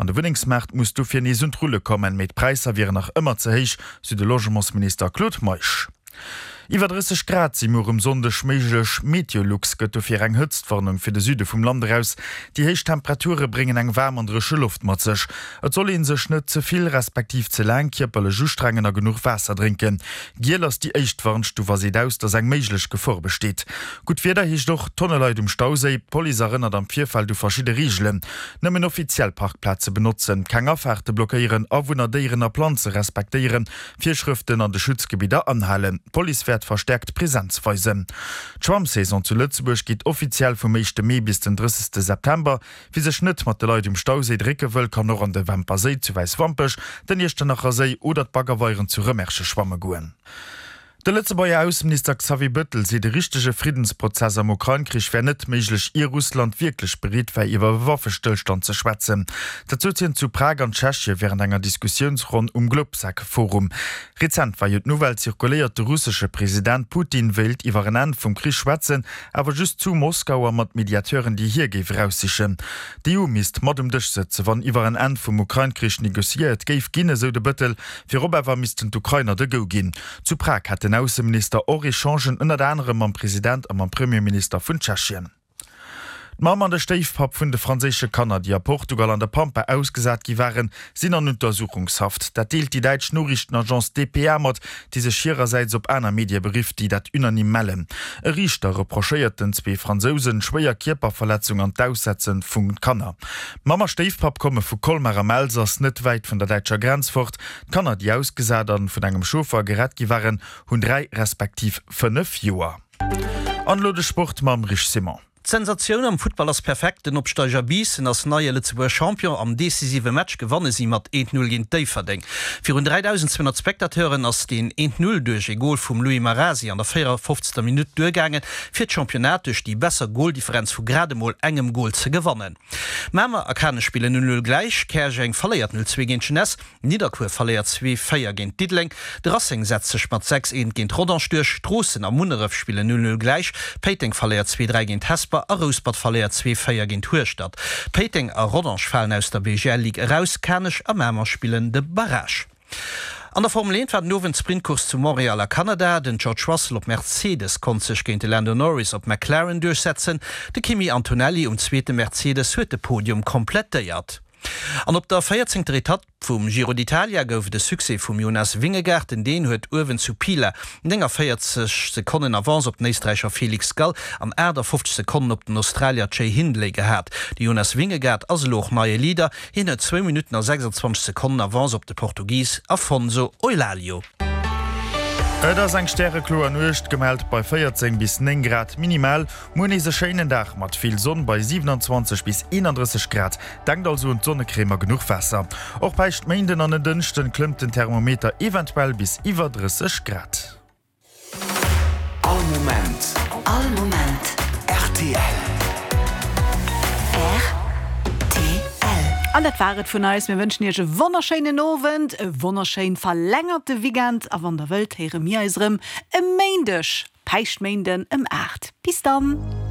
An de Wunnengsmaart muss dofir nees un d'Rulle kommen, mee d'Präisser wieren nach ëmmer ze héich, sou de Logementsminister Claude Meisch. Iwwer 30 Grad si muer um Sonndeg méiglech. Meteolux gëtt dofir eng Hëtztwarnung fir de Süde vum Land eraus. Déi héich Temperature bréngen eng waarm an dréche Loft mat sech. Et soll ee sech net ze vill respektiv ze laang kierperlech ustrengen a genuch Waasser drénken. Giel ass déi éischt Warnstuf a seet aus, dass eng méiglech Gefor besteet. Gutt Wieder heescht och Tonne Leit um Stauséi. D'Police erënnert am Virfeld u verschidde Reegelen, Nëmmen offiziell Parkplaze benotzen, keng Afaarte blockéieren, Awunner, Déieren a Planze respektéieren, Virschrëften an de Schutzgebidder anhalen. D'Police wäert verstäerkt Presenz weisen. D'Schwammsaison zu Lëtzebuerg geet offiziell vum éischte Mee bis den 30 September. Wie sech net mat de Leit um Stauséi drécke wëll, kann och an de Wämper Séi zu Wäiswampech, den Iechternacher Séi oder d'Baggerweieren zu Rëmersche schwamme goen. De Lëtzebuerger Ausseminister Xavier Bëttel seet, e richtege Friddensprozess am Ukrain-Krich wär net méiglech, ier Russland wierklech bereet wär, iwwer e Waffestëllstand ze schwätzen. Dat sot hien zu Prag an Tschechie wärend enger Diskussiounsronn um Globsec-Forum. Rezent war jo d'Nouvelle zirkuléiert, de russesche President Putin wéilt iwwer en Enn vum Krich schwätzen, awer just zu Moskau a mat Mediateuren, déi hie géif eraussichen. D'EU misst mat um Dësch sëtzen, wann iwwer en Enn vum Ukrain-Krich negociéiert géif ginn, esou de Bëttel. Virop awer missten d'Ukrainer de Go ginn. Zu Prag hat den Ausseminister och Echangen ënnert anerem mam President a mam Premierminister vun Tschechien. D'Mamm an de Stéifpapp vun de franséische Kanner, déi a Portugal an der Pampa ausgesat gi waren, sinn an Untersuchungshaft. Dat deelt déi däitsch Noriichtenagence dpa mat, déi sech hirersäits op aner Medie berifft, déi dat unanime mellen. E Riichter reprochéiert den zwee Fransousen schwéier Kierperverletzung an d'Aussetze vu Kanner. D'Mamm a Stéifpapp komme vu Colmar am Elsass, net wäit vun der däitscher Grenz fort. D'Kanner, déi ausgesat an vun engem Chauffer gerett gi waren, hunn 3 respektiv 5 Joer. An elo de Sport mam Rich Simon. D'Sensatioun am Futtball ass perfekt, Den Opsteiger Biissen ass neie Lëtzebuerger Champion. Am decisive Match gewanne si mat 1, 0 géint Déifferdeng. Virun 3.200 Spectateuren ass deen 1, 0 duerch ee Gol vum Louis Marasi an der 54. Minutt duergaangen, fir d'Championnat duerch déi besser Goldifferenz vu grad emol engem Gol ze gewannen. Mamer a Kanech spillen 0, 0 gläich, Käerjeng verléiert 0, 2 géint Jeunesse. Nidderkuer verléiert 2, 4 géint Diddeleng, de Racing setzt sech mat 6, 1 géint Rodange duerch, Stroossen a Munneref spillen 0, 0 gläich, Péiteng verléiert 2, 3 géint Hesper a Rouspert verléiert 2, 4 géint Hueschtert. Péiteng a Rodange falen aus der BGL Ligue eraus, Kanech a Mamer spillen de Barrage. An der Formel 1 war den Owend d'Sprintcourse zu Montréal a Kanada. Den George Russell op Mercedes konnt sech géint de Lando Norris op McLaren duerchsetzen. De Kimi Antonelli um zweete Mercedes huet de Podium komplettéiert. An op der véierzéngter Etapp vum Giro d'Italia gouf et e Succès vum Jonas Vingegaard. Den Dän huet uewen zu Pila 49 Sekonnen Avance op den Éisträicher Felix Gall an 58 Sekonnen op den Australier Jay Hindley gehat. De Jonas Vingegaard ass elo och neie Leader. Hien huet zwou Minutten a 26 Sekonnen Avance op de Portugis Afonso Eulalio. Et ass eng stärekloer Nuecht gemellt bei 14 bis 9 Grad minimal. Muer nees e schéinen Dag mat vill Sonn bei 27 bis 31 Grad. Denkt also un d'Sonnecrème a genuch Waasser. Och Päischtméinden an en Dënschden klëmmt den Thermometer eventuell bis iwwer 30 Grad. All Moment. All Moment. Rtl. Rtl. An dat war et vun eis. Mir wënschen iech e wonnerschéinen Owend, e wonnerschéin verlängerte Weekend a wann der wëllt, héiere mir eis erëm e Méindeg, Päischtméinden ëm 8. Bis dann!